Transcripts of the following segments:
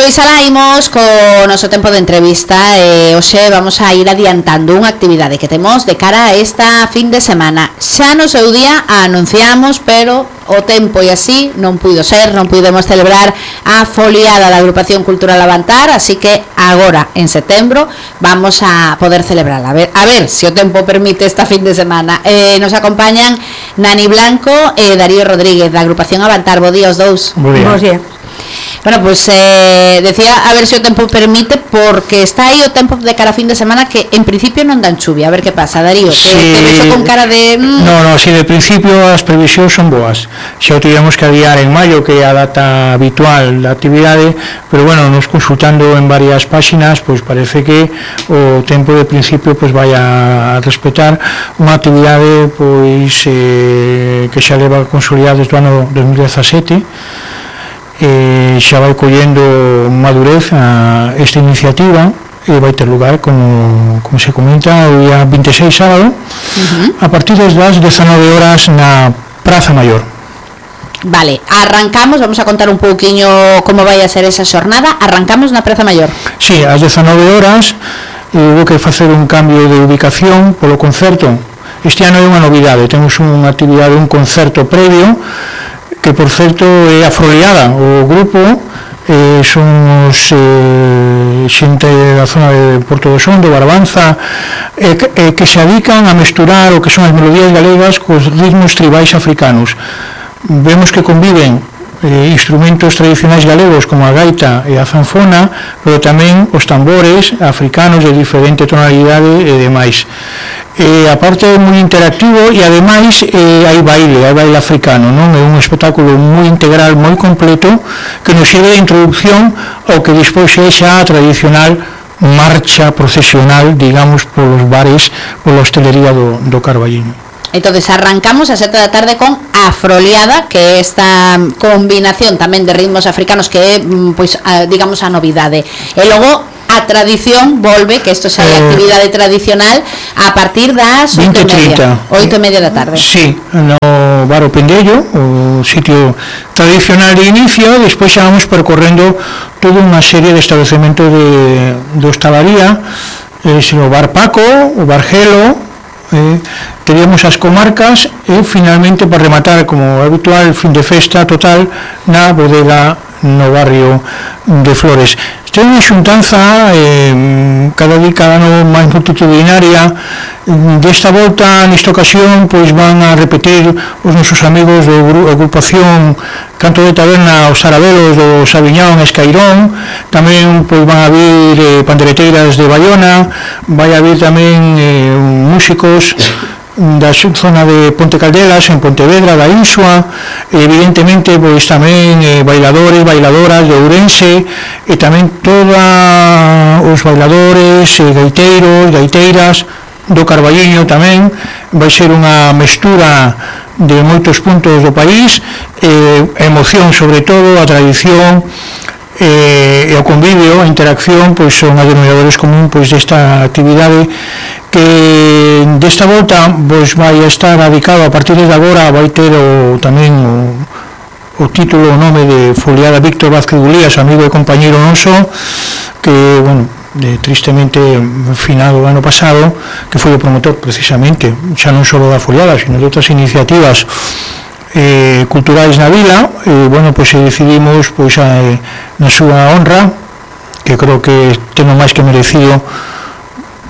pois alaimos co noso tempo de entrevista. Hoxe vamos a ir adiantando unha actividade que temos de cara a esta fin de semana. Xa no seu día a anunciamos, pero o tempo e así non puido ser, non pudemos celebrar a foliada da Agrupación Cultural Avantar, así que agora en setembro vamos a poder celebrarla. A ver se o tempo permite esta fin de semana. Nos acompañan Nani Blanco e Darío Rodríguez da Agrupación Avantar. Bo día os dous. Bo día. Bueno, pues decía a ver se o tempo permite, porque está aí o tempo de cara a fin de semana que en principio non dan chuvia. A ver que pasa, Darío, sí, te vexo con cara de... No, si de principio as previsións son boas. Xa o tivemos que adiar en maio, que é a data habitual da actividade, pero bueno, nos consultando en varias páxinas, pois parece que o tempo de principio pois vai a respetar unha actividade pois que xa leva consolidada desde o ano 2017. Xa vai collendo madurez esta iniciativa e vai ter lugar, como se comenta, o día 26 sábado, a partir das 19 horas na Praza Maior. Vale, arrancamos, vamos a contar un pouquiño como vai a ser esa xornada. Arrancamos na Praza Maior. Sí, ás 19 horas houve que facer un cambio de ubicación polo concerto. Este ano é unha novidade, temos unha actividade, un concerto previo, que por certo é Afroliada. O grupo son os xente da zona de Porto do Son, do Barbanza, que se dedican a mesturar o que son as melodías galegas cos ritmos tribais africanos. Vemos que conviven instrumentos tradicionais galegos como a gaita e a zanfona, pero tamén os tambores africanos de diferente tonalidade e demais. A parte é moi interactivo e ademais hai baile africano, non? É un espectáculo moi integral, moi completo, que nos sirve de introducción ao que despois é xa a tradicional marcha procesional, digamos, polos bares, pola hostelería do Carballiño. Entonces arrancamos a 7 da tarde con Afroliada, que é esta combinación tamén de ritmos africanos que é, pois, digamos, a novidade. E logo a tradición volve, que isto xa é actividade tradicional, a partir das 8:30 da tarde. Sí, no Bar O Pendello, o sitio tradicional de inicio. Despois xa vamos percorrendo toda unha serie de estabelecementos do Estavaría, o Bar Paco, o Bar Gelo, teríamos as comarcas e finalmente, para rematar, como habitual, fin de festa total na bodega no barrio de Flores. Isto é unha xuntanza cada ano máis multitudinaria. Desta volta, nesta ocasión, pois van a repetir os nosos amigos da agrupación Canto de Taberna, os Arabelos do Sabiñón, Escairón. Tamén pois van a vir pandereteiras de Bayona, vai a vir tamén músicos da zona de Ponte Caldelas, en Pontevedra, da Insua, evidentemente pois tamén bailadores, bailadoras de Ourense, e tamén todos os bailadores, gaiteiros, gaiteiras do Carballiño. Tamén vai ser unha mestura de moitos puntos do país, emoción sobre todo, a tradición e o convivio, a interacción, pois son as denominadores común pois desta actividade, que desta volta pois vai a estar dedicado a partir de agora, vai ter tamén o título, o nome de Foliada Víctor Vázquez Gulías, amigo e compañeiro noso, que, bueno, tristemente finado o ano pasado, que foi o promotor precisamente, xa non só da foliada, sino de outras iniciativas culturais na vila. Bueno, pois decidimos pois na súa honra, que creo que ten o máis que merecido,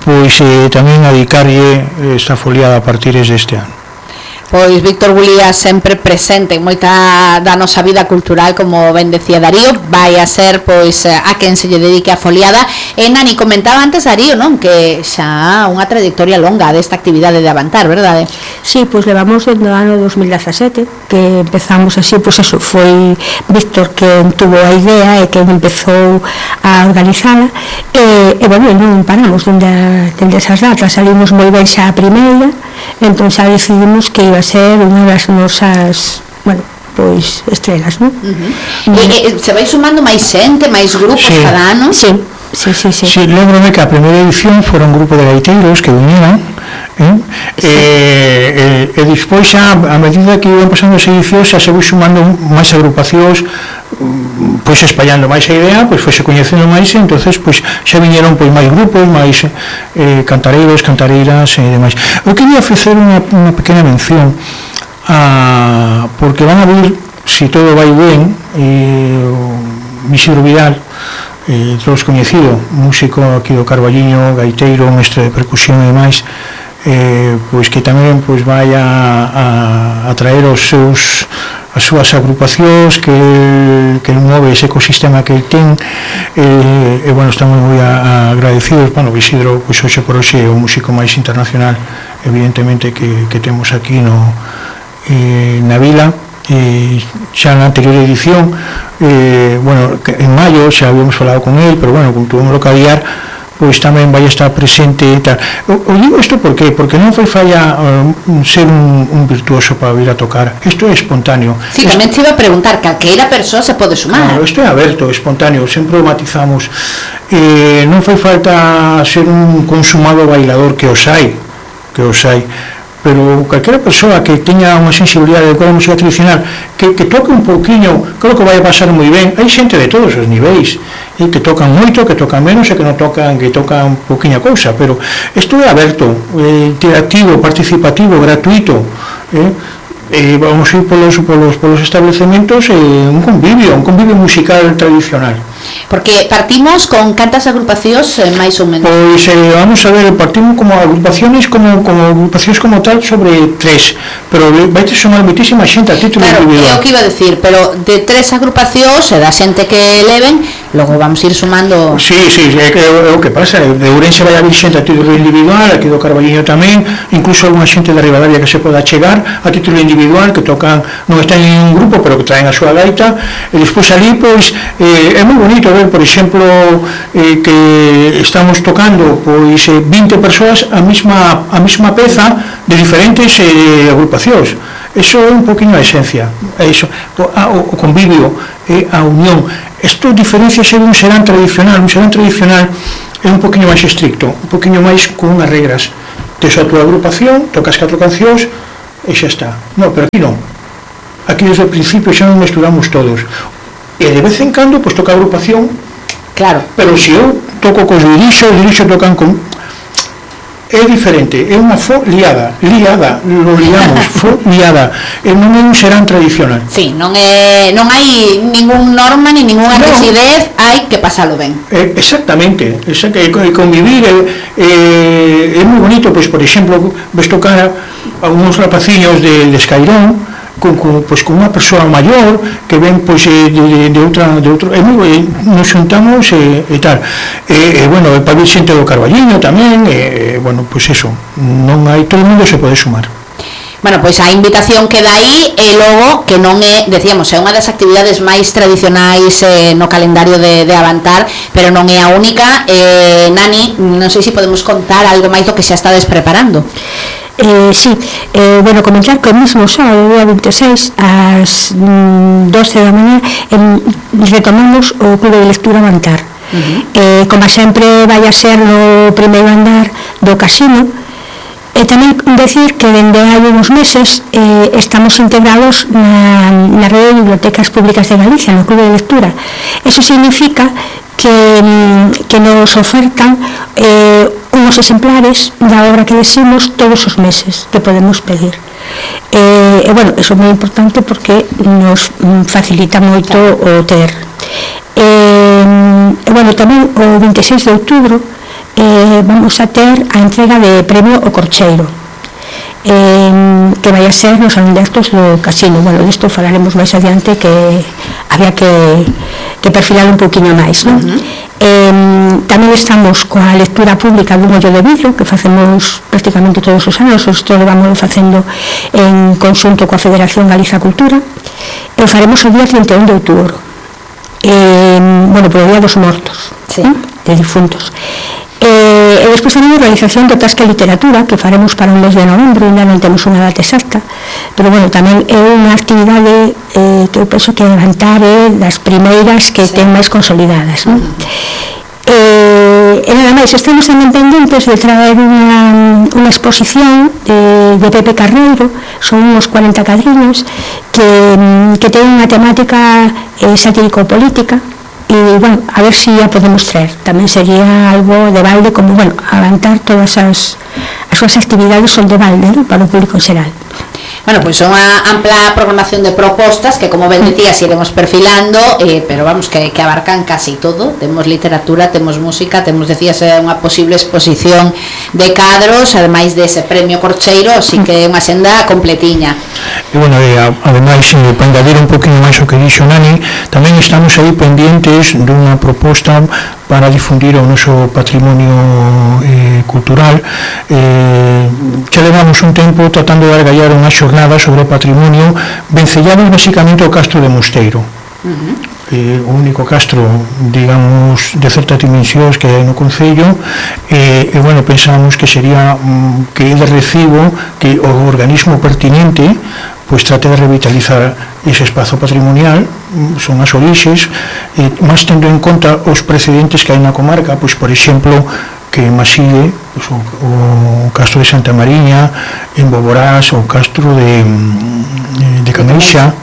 pois tamén a dedicarlle esta foliada a partir deste ano. Pois Víctor Gulías sempre presente en moita da nosa vida cultural, como ben decía Darío, vai a ser pois a quen se lle dedique a foliada. E Nani, comentaba antes Darío, non, que xa unha trayectoria longa desta actividade de Avantar, verdade? Sí, pois levamos desde o ano 2017 que empezamos así, pois eso, foi Víctor quen tuvo a idea e quen empezou a organizala, e bueno, non paramos dende esas datas, salimos moi ben xa a primeira, entón xa decidimos que iba a ser unha das nosas, bueno, pois estrelas, non? E se vai sumando máis xente, máis grupos cada ano? Sí. Lembro-me que a primeira edición fora un grupo de gaiteiros que viñeron, e despois xa, a medida que iban pasando as edicións, xa se vai sumando máis agrupacións pois espallando máis a idea, pois foi se coñecendo máis, e entonces pois xa viñeron pois máis grupos, máis cantareiros, cantareiras e demais. Eu quería ofrecer unha pequena mención porque van a vir, se todo vai ben, o Isidro Vidal, todos coñecido, músico aquí do Carballiño, gaiteiro, mestre de percusión e demais, pois que tamén pois vai a traer as súas agrupacións que move ese ecosistema que el ten, e bueno, estamos moi agradecidos. Bueno, Isidro pois hoxe por hoxe é o músico máis internacional evidentemente que temos aquí na vila. Xa na anterior edición, bueno, en maio xa habíamos falado con el, pero bueno, como tuvemos que aviar, pois tamén vai estar presente e tal. O digo isto porque non foi falla ser un virtuoso para vir a tocar. Isto é espontáneo. Sí, tamén te iba a preguntar, calqueira persoa se pode sumar. Claro, isto é aberto, espontáneo, sempre o matizamos. Non foi falta ser un consumado bailador, que os hai, pero calquera persoa que teña unha sensibilidade de música tradicional, que toque un pouquiño, creo que vai a pasar moi ben. Hai xente de todos os niveis, que tocan moito, que tocan menos, e que non tocan, que tocan pouquiña cousa, pero isto é aberto, interactivo, participativo, gratuito, vamos a ir polos establecementos, un convivio musical tradicional. Porque partimos con cantas agrupacións máis ou menos? Pois vamos a ver, partimos como agrupacións como tal sobre 3, pero vai ter sumar moitísima xente a título individual. Claro, é o que iba a decir, pero de 3 agrupacións e da xente que leven, logo vamos ir sumando. Sí, é o que pasa, de Ourense vai haber xente a título individual, aquí do Carballiño tamén, incluso alguna xente de Ribadavia que se poda chegar a título individual, que tocan, non están en un grupo, pero que traen a súa gaita, e despois ali, pois, é moi bonito ver, por exemplo, que estamos tocando pois 20 persoas a mesma peza de diferentes agrupacións. Eso é un poquinho a esencia, o convivio, a unión. Isto diferenciase dun serán tradicional. Un serán tradicional é un poquinho máis estricto, un poquinho máis con unhas regras. Tes a tua agrupación, tocas 4 cancións e xa está. Non, pero aquí non. Aquí desde o principio xa non mesturamos todos. E de vez en cando, pois toca a agrupación. Claro. Pero se eu toco cos dirixos tocan con... É diferente, é unha fo liada, lo liamos, fo liada, e non é un serán tradicional. Sí, non hai ningún norma, ni ninguna rigidez, hai que pasalo ben. Exactamente, convivir é moi bonito, pois, por exemplo, ves tocar a uns rapaciños de Escairón, con unha persoa maior que ven pois de outro, nos xuntamos e tal, bueno, para vir xente do Carballiño tamén, bueno, pois eso, non hai, todo o mundo se pode sumar. Bueno, pois a invitación queda aí, e logo que non é, decíamos, é unha das actividades máis tradicionais no calendario de Avantar, pero non é a única. Nani, non sei se podemos contar algo máis do que xa estades preparando. Sí, bueno, comentar que o mismo sábado, día 26, ás 12 da mañá, retomamos o Clube de Lectura Avantar. Como sempre vai a ser no primeiro andar do casino, e tamén decir que dende hai uns meses estamos integrados na rede de bibliotecas públicas de Galicia, no Clube de Lectura. Eso significa que nos ofertan unos exemplares da obra que decimos todos os meses que podemos pedir. E bueno, eso é moi importante porque nos facilita moito o ter. E bueno, tamén o 26 de outubro vamos a ter a entrega de premio O Corcheiro, que vai a ser nos Salón de Actos do Casino. Bueno, disto falaremos máis adiante, que había que perfilar un poquinho máis, non? Tamén estamos coa lectura pública dun ollo de vidro que facemos prácticamente todos os anos. Isto lo vamos facendo en conxunto coa Federación Galiza Cultura, e o faremos o día 31 de outubro, bueno, polo Día dos Mortos, sí, de difuntos. E despois tamén a realización do Tasca Literatura, que faremos para un mes de novembro, ainda non temos unha data exacta, pero bueno, tamén é unha actividade que eu penso que Avantar é das primeiras que ten máis consolidadas, non? E nada máis, estamos tamén pendentes de traer unha exposición de Pepe Carneiro, son uns 40 cadriños que ten unha temática satírico-política, e, bueno, a ver si a podemos traer. Tamén sería algo de balde, como, bueno, avanzar todas as súas actividades son de balde, ¿no?, para o público en xeral. Bueno, pois son unha ampla programación de propostas que, como ben decías, iremos perfilando, pero vamos, que abarcan casi todo. Temos literatura, temos música, temos, decías, unha posible exposición de cadros, ademais dese premio Corcheiro, así que é unha senda completiña. E, bueno, ademais, para engadir un poquinho máis o que dixo Nani, tamén estamos aí pendientes dunha proposta para difundir o noso patrimonio cultural. Xa levamos un tempo tratando de argallar unha xornada sobre o patrimonio, vencellamos basicamente o castro de Mosteiro, o único castro, digamos, de certas dimensións que hai no concello, e bueno, pensamos que sería que é de recibo que o organismo pertinente pois trate de revitalizar ese espazo patrimonial, son as orixes, máis tendo en conta os precedentes que hai na comarca, pois, por exemplo, que en Maside, pois, o castro de Santa Mariña, en Boborás, o castro de Caneixa.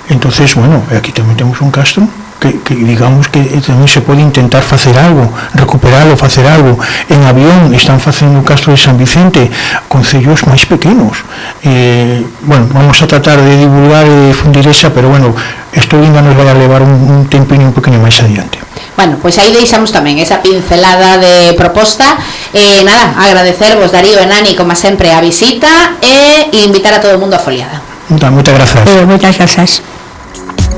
Entonces, bueno, aquí tamén temos un castro que digamos que tamén se pode intentar facer algo, recuperalo, facer algo. En Avión están facendo o castro de San Vicente, concellos máis pequenos. Bueno, vamos a tratar de divulgar e difundir esa, pero bueno, isto ainda nos vai a levar un tempinho un poquinho máis adiante. Bueno, pois aí deixamos tamén esa pincelada de proposta. Nada, agradecervos, Darío e Nani, como sempre, a visita e invitar a todo o mundo a foliada. Moitas grazas. Moitas grazas.